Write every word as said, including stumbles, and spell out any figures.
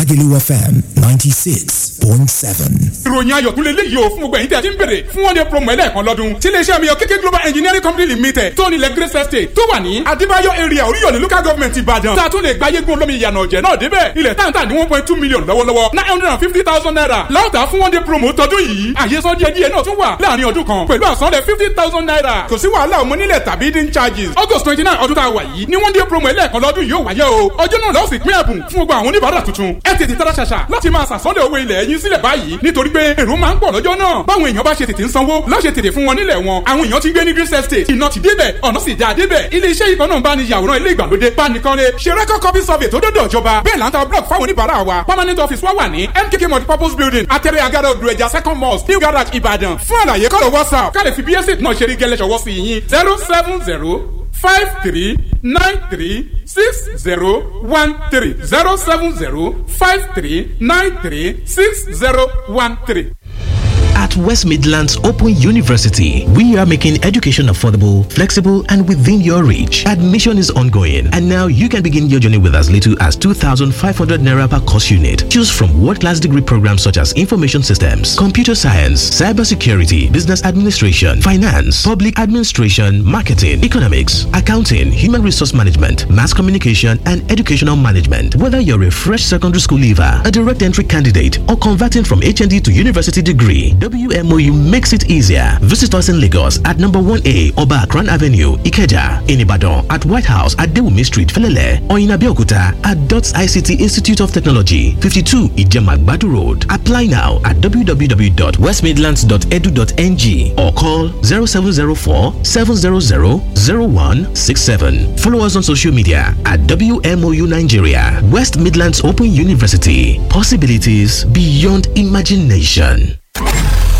Lagelu F M ninety-six point seven. Ìròyìn ayọ̀ tún lè léyìí o fún gbogbo ẹ̀yin tí a ti ń bèrè fún one day promo ẹlẹ́ẹ̀kan lọ́dún tí iléeṣẹ́ mi yọ K K Global Engineering Company Limited tó nílẹ̀ Grace Estate tó wà ní Adébáyọ̀ area Oríyọ̀lẹ̀ local government Ìbàdàn tá a tún lè gba yégun olómi ìyànà ọ̀jẹ̀ náà débẹ̀. Ilẹ̀ táǹtà ní one point two million lọ́wọ́lọ́wọ́, nine hundred and fifty thousand naira láòtà fún one day promo tọdún yìí. Àyè sọ díẹ̀ díẹ̀ náà tún wà láàrin ọdún kan pẹ̀lú àsanlẹ̀ fifty thousand naira. Kò sí wàhálà ọmọ nílẹ̀ tàbí dín charges. August twenty nine ọdún tá a wà yìí ní one day promo ẹlẹ́ẹ̀kan lọ́dún yóò wáyé o. Ọjọ́ náà lọ́ọ̀sì pín ẹ̀bùn fún gbogbo àwọn oníbàárà tuntun. Ẹ tètè tara ṣàṣà láti máa sàsọ́lẹ̀ owó ilẹ̀ yín sílẹ̀ báyìí nítorí pé èrò máa ń pọ̀ lọ́jọ́ náà. Báwọn èèyàn bá ṣe tètè ń sanwó lọ́ṣẹ̀ tètè fún wọn nílẹ̀ wọn. Àwọn èèyàn ti ń gbé ní Grace Estate, iná ti débẹ̀, ọ̀nà sì já débẹ̀. Ilé iṣẹ́ yìí kan náà ń bá ní yàwòrán ilé ìgbàlódé, bánikọ́lé, ṣe record copy survey tó dọ́dọ̀ ìjọba. Bẹ́ẹ̀ là ń ta block fáwọn oníbàárà wa. Permanent office wa wà ní M K K multipurpose building, Atẹ́rẹ́ Agada Odò Ẹja second mosque, New Garage, Ìbàdàn. Fún àlàyé kọ́lọ̀ WhatsApp ká lè fi bí estate náà ṣe rí gẹ́lẹ́ ṣọwọ́ sí yín zero seven zero five three nine three six zero one three zero seven zero five three nine three six zero one three. At West Midlands Open University, we are making education affordable, flexible, and within your reach. Admission is ongoing, and now you can begin your journey with as little as two thousand five hundred naira per course unit. Choose from world-class degree programs such as information systems, computer science, cybersecurity, business administration, finance, public administration, marketing, economics, accounting, human resource management, mass communication, and educational management. Whether you're a fresh secondary school leaver, a direct entry candidate, or converting from H N D to university degree, W M O U makes it easier. Visit us in Lagos at number one A Oba Akran Avenue, Ikeja, in Ibadan at White House at Dewumi Street, Felele, or in Abeokuta at Dots I C T Institute of Technology, fifty-two Ijemagbadu Road. Apply now at w w w dot west midlands dot edu dot n g or call zero seven zero four seven zero zero zero one six seven. Follow us on social media at W M O U Nigeria, West Midlands Open University. Possibilities beyond imagination.